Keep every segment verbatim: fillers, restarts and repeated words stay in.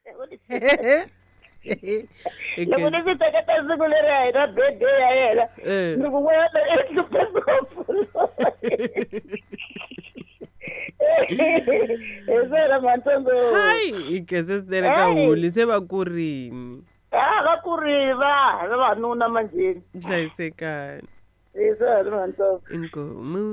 Loko ni swi teketa siku leri a hina birthday ya yena Eh. ni ku n'wana i hluphe ngopfu hi swona mantsongo hayi i khense swinene ka Hey. holi se va kurini a va kurile va vavanuna manjheni hlayisekani hi swona mantsongo inkomu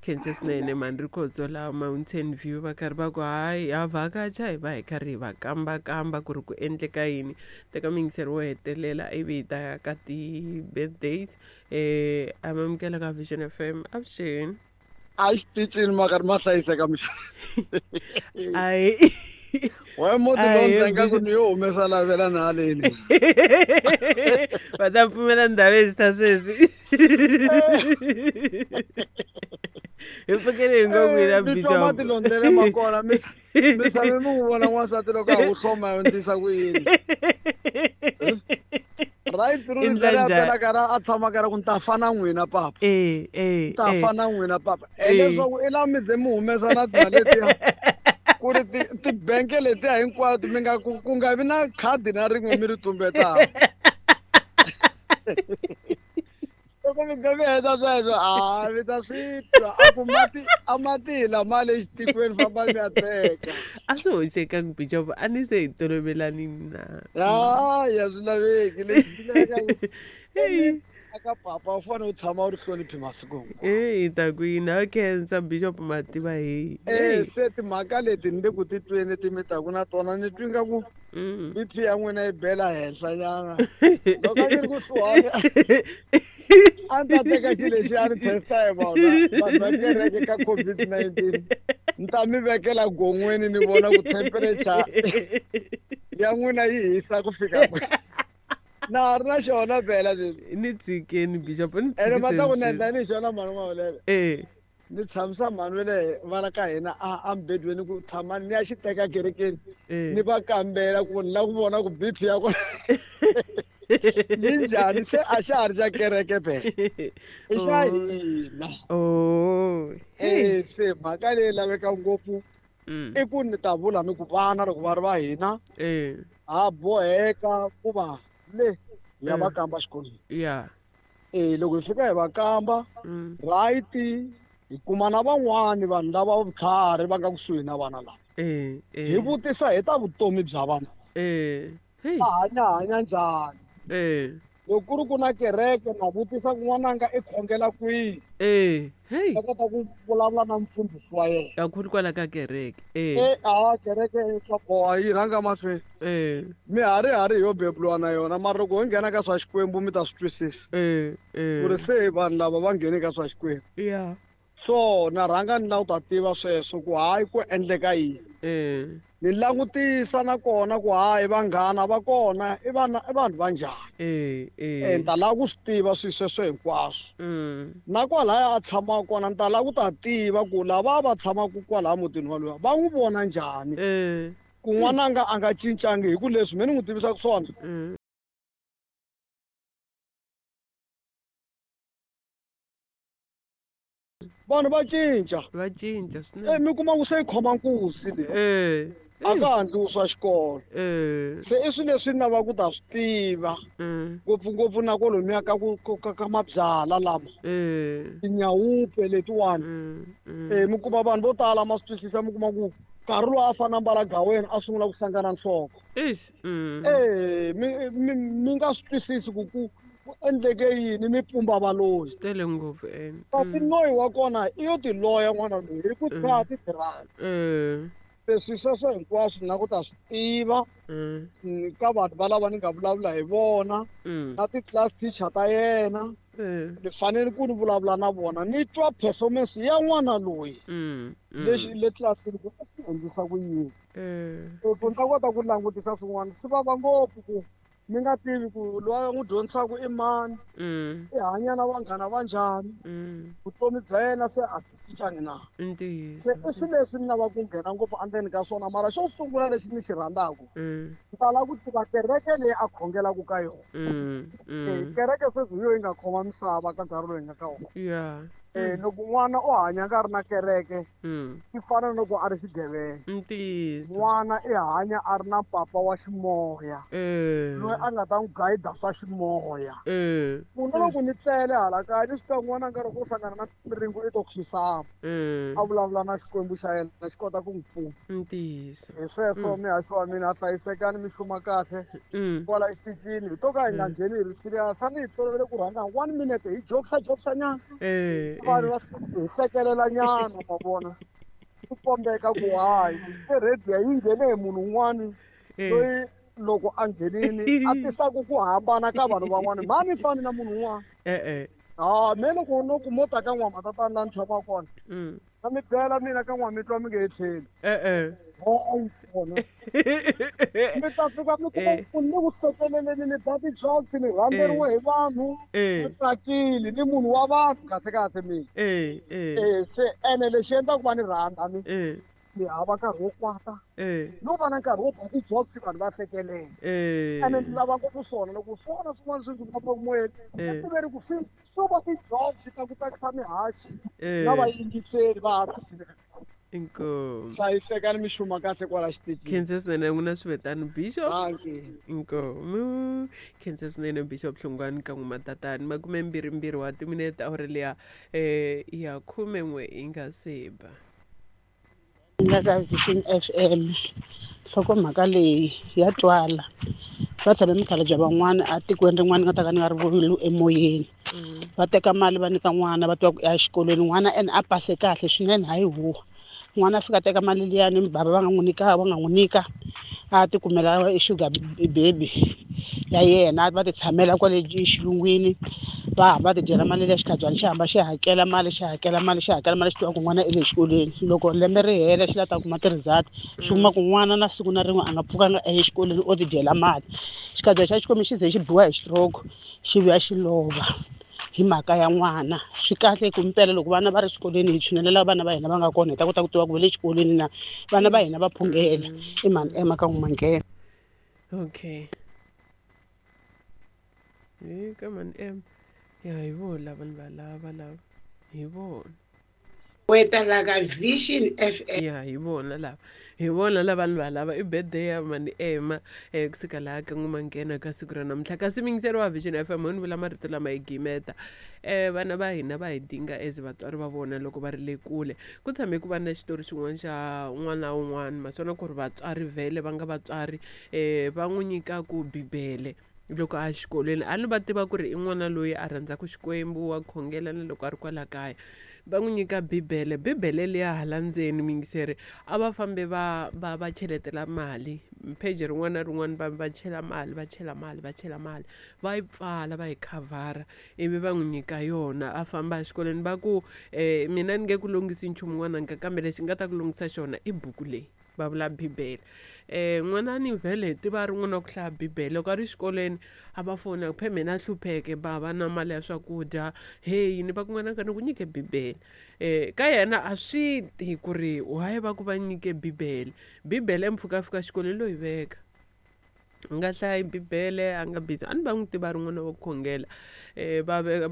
khense swinene mani ri khotso laha Mountain View va karhi va ku hayi ha vhakacha hi va hi karhi hi va kambakamba ku ri ku endleka yini teka muyingiseri wo hetelela ivi hi ta ya ka ti-birthdays um amamukela ka Vision F M avuxeni a xitichini ma karhi ma hlayiseka mixi ayi we muti Ahi, lowu ndzi nga ku busy. ni yo humesa lavela na haleni va ta pfumela ndhawu ezi ta sweswi hi pfukele hi ngo n'wina mi twa Bishop. matilondlele ma kona mi mi tshame mi n'wi vona n'wansati loko a wu hloma yo ndlisa ku yini right I ri ndla leri a njhani? pela karhi a tshama karhi ku ni ta fana n'wina papa Eh, eh, ta eh. fana n'wina papa Eh. hileswaku i la mi ze mi humesa na timali letiya ku ri ti- tibenke letiya hinkwato mi nga ku ku nga vi na khadi na rin'we mi ri tumbetaka loko mi nga mi heta sweswo a mi ta swi twa a ku mati a mati hi lama le xitikweni fambani mi ya teka a swi hoxekangi Bishop a ni se hi tolovelanini na hayi a swi laveki lexi lavekaka Hey. aka papa u fanele u tshama u ri hloniphi masiku hinkwawo Eh, hi ta ku yini ha khensa Bishop mativa heyi Eh, se timhaka leti ni le ku titweni ti mi taku na tona ni twi nga ku Mm. B P ya n'wina yi bela henhla nyana loko a ni ri kusuhani a ni ta teka xilo lexi a ni testa hi vona vanhu va kereke ka COVID nineteen ni ta mi vekela gon'weni ni vona ku temperature ya n'wina yi hisa ku fika kwihi na ha ri na xona phela sweswi ni tshikeni Bishop ni ene ma ta ku tshikiseni ni endla sweswi. ni hi xona mhani n'wahulele Eh, ni tshamisa mhani wa le va la ka hina a emubedweni ku tshama ni ya xi teka kerekeni eh. ni va kambela ku ni lava ku vona ku B P ya kona yi njhani se a xa ha ri xa kereke phela i xa Oh. hina Oh. Hey. e se mhaka leyi laveka ngopfu Mm. i ku ni ta vula ni ku vana loko va ri va hina Eh, ha boheka ku va le hi ya va Mm. kamba xikolweni yeah. e loko hi fika hi va kamba Mm. right hi kuma na van'wani vanhu lava vutlhari va nga kusuhi na vana lava Eh, eh. hi vutisa hi ta vutomi bya vana Eh. Hey. va hanya hanya njhani Eh. loko ku ri ku na kereke na vutisa ku n'wananga i khongela kwihi Eh. Hey. va kota ku vulavula na mfundhisi wa yena Kakhulu kwala ka kereke. Eh. e a kereke swa boha yi rhanga mahlweni Eh. mi hari hari yo beburiwa na yona mara loko ho nghena ka swa xikwembu mi ta swi twisisa Eh. Eh. ku ri se vanhu lava va nghene ka swa xikwembu Yeah. so na rhanga ni lava ku ta tiva sweswo ku hayi ku endleka yini Eh. ni langutisa nakona ku hayi vanghana va kona i vana i vanhu va njhani Eh. e Eh. ni ta lava ku swi tiva swilo sweswo hinkwaswo Mm. na kwalaya a tshamaka kona ni ta lava ku ta tiva ku lava va tshamaka kwalaya mutini walowa va n'wi vona njhani Eh. ku n'wananga a nga cincangi hi ku leswi me ni n'wi tivisaka swona Mm. vanhu va cinca Va cinca e swinene. mi kuma ku se yi khoma nkuzi leyi Eh. a ka ha ndliwi swa xikolo Eh. se i swilo leswi ni lavaka ku ta swi tiva Mm. ngopfungopfu na kwalomuya ka ku ka- ka ka mabyala lama Eh. tinyawupe letiwani Mm. Mm. e mi kuma vanhu vo tala ma swi twisisa mi kuma ku nkarhi lowu a fane a mbala gaweni a sungula ku hlangana nhloko Eish. Mm. e mi mi mi nga swi twisisi ku ku ku endleke yini mi pumba valoyi Swi tele ngopfu ene. kasi Mm. noyi wa kona i yo tiloya n'wana loyi hi ku tshaha ti-drugs Eh. leswi sweswo hinkwaswo ni lava ku ta swi tiva Mm. mm, ka vanhu valava ni nga vulavula hi vona Mm. na ti-class teacher ta yena Eh. ni fanele ku ni vulavula na vona ni twa performance ya n'wana loyi Mm. Mm. lexi le tlilasini ku i swi endlisa ku yini Eh. ku ni ta kota ku langutisa swin'wana swi vava ngopfu ku mi nga tivi ku loyi a n'wi dyondzisaka i mani Mm. i hanya na vanghana va njhani Mm. vutomi bya yena se a byi cincangi na I ntiyiso. se i swilo leswi ni lavaka ku nghena ngopfu endzeni ka swona mara xo sungula lexi ni xi rhandzaka Mm. ni ta lava ku tiva kereke leyi a khongelaka ka yona Mm. Eh, Mm. kereke sweswi hi yo yi nga khoma misava ka nkarhi lowu hi nga ka wona Yeah. Eh loko n'wana o hanya nga ri na kereke Mm. swi fana na loko a ri xigevenga. Ntiyiso. N'wana i hanya a ri na papa wa ximoya Eh. loyi a nga ta n'wi gayida swa ximoya. Eh. Ku na loko ni tlele hala kaya ni swi tiva n'wana nkarhi ku hlangana na miringo i to khisama Eh. a vulavula na Xikwembu xa yena xi kota ku n'wi pfuna. Ntiyiso. Hi sweswo mihaxo wa mina hlayisekani mi hluma kahle Mm. kwala exitichini hi to ka hi nga ngheni hi ri serious a ni hi tolovele ku rhanga one minute hi jokesa jokesa nyana Eh. vanhu va hi hlekelela nyana ma vona ku kombeka ku hayi se radio yi nghene hi munhu un'wani Eh. loyi loko a nghenini a tisaku ku hambana ka vanhu van'wani mhani fani na munhu un'wana Eh eh. ha me loko no ku mo ta ka n'wamatatana laha ni tshamaka kona Mm. na mi byela mina ka n'wamitwa mi nge he tlheli Eh eh. hayi kona mi ta fika mi kuma Eh. ku ni ku hlekeleleni ni ba ti-jokes ni rhandzeriwe hi vanhu Eh. ni tsakile ni munhu wa vanhu kahle kahle mina Eh eh. eh se ene lexi endlaka ku va ni rhandza mi Eh. ni hava nkarhi wo kwata Eh. no va na nkarhi wo ba ti-jokes vanhu va hlekelela Eh. ene ni lava ngopfu swona loko swona swin'wana swi ndzi fambaka moyeni Eh. swi tiveni ku swi swo va ti-jokes ta ku tsakisa mihaxi Eh. na vayingiseri va Inkomu. hlayisekani mi xuma kahle kwala xitichini Khensa swinene n'wina swivetani Bishop. dankie Inkomu. Khensa swinene Bishop Hlungwani ka n'wina tatani makume mbirhi mbirhi wa timinete awara liya eh ya khume n'we yi nga se ba. Nga ka Vision F M nhlokomhaka leyi ya twala va tshame mikhalabye van'wana a tikweni rin'wana ni nga ta ka ni nga ri vuli emoyeni va teka mali va nyika n'wana va tiva ku ya xikolweni n'wana ene a pase kahle swinene hayi huwa n'wana a fika a teka mali liyani bava va nga n'wi nyika va nga n'wi nyika a ti kumela e sugar baby ya yena va ti tshamela kwale xilungwini va hamba va ti dyela mali liya xikhabyana xi hamba xi hakela mali xi hakela mali xi hakela mali xi tiva ku n'wana i le xikolweni loko lembe ri hela xi la ta kuma ti-result xi kuma ku n'wana na siku na rin'we a nga pfukanga a ye xikolweni o ti dyela mali xikhabyana xa Xikwembu xi ze xi biwa hi stroke xi vuya xi lova hi mhaka ya n'wana swi kahle ku mpela loko vana va ri xikolweni hi tshunelela vana va hina va nga kona hi ta kota ku tiva ku va le xikolweni na vana va hina va phungela i mhani ema ka n'wamanghena. Okay. Eh ka mani em. Ya hi vona lava ni va lava lava. Hi vona. Weta la ka Vision F M. Ya hi vona lava. Hi vona lava ni va lava i birthday ya mani ema eh kusuka laha ka n'wamanghena ka siku ra namuntlha kasi miyingiseri wa Vision F M ho ni vula marito lama hi gimeta eh vana va hina va hi dinga as vatswari va vona loko va ri le kule ku tshame ku va na xitori xin'wana xa n'wana un'wana maswona ku ri vatswari vhele va nga vatswari eh va n'wi nyikaku bibele loko a xikolweni a ni va tiva ku ri i n'wana loyi a rhandzaka Xikwembu wa khongela na loko a ri kwala kaya va n'wi nyika bibele bibele liya hala ndzeni miyingiseri a va fambe va va va cheletela mali pheji rin'wana na rin'wana va va chela mali va chela mali va chela mali va yi pfala va yi khavhara ivi va n'wi nyika yona a famba exikolweni va ku um mina ni nge ku lunghisi nchumu n'wananga kambe lexi nga ta ku lunghisa xona i buku leyi va vula bibele eh n'wana ni vhele hi tiva ri n'wana wa ku hlaya bibele loko a ri xikolweni a va fona phe mina a hlupheke bava na mali ya swakudya heyi ni va ku n'wananga ni ku nyike bibele eh ka yena a swi ti ku ri why va ku va nyike bibele bibele mpfhuka a fika xikolweni lo yi veka a nga hlayi bibele a nga busy a ni va n'wi tiva ri n'wana wa ku khongela eh va va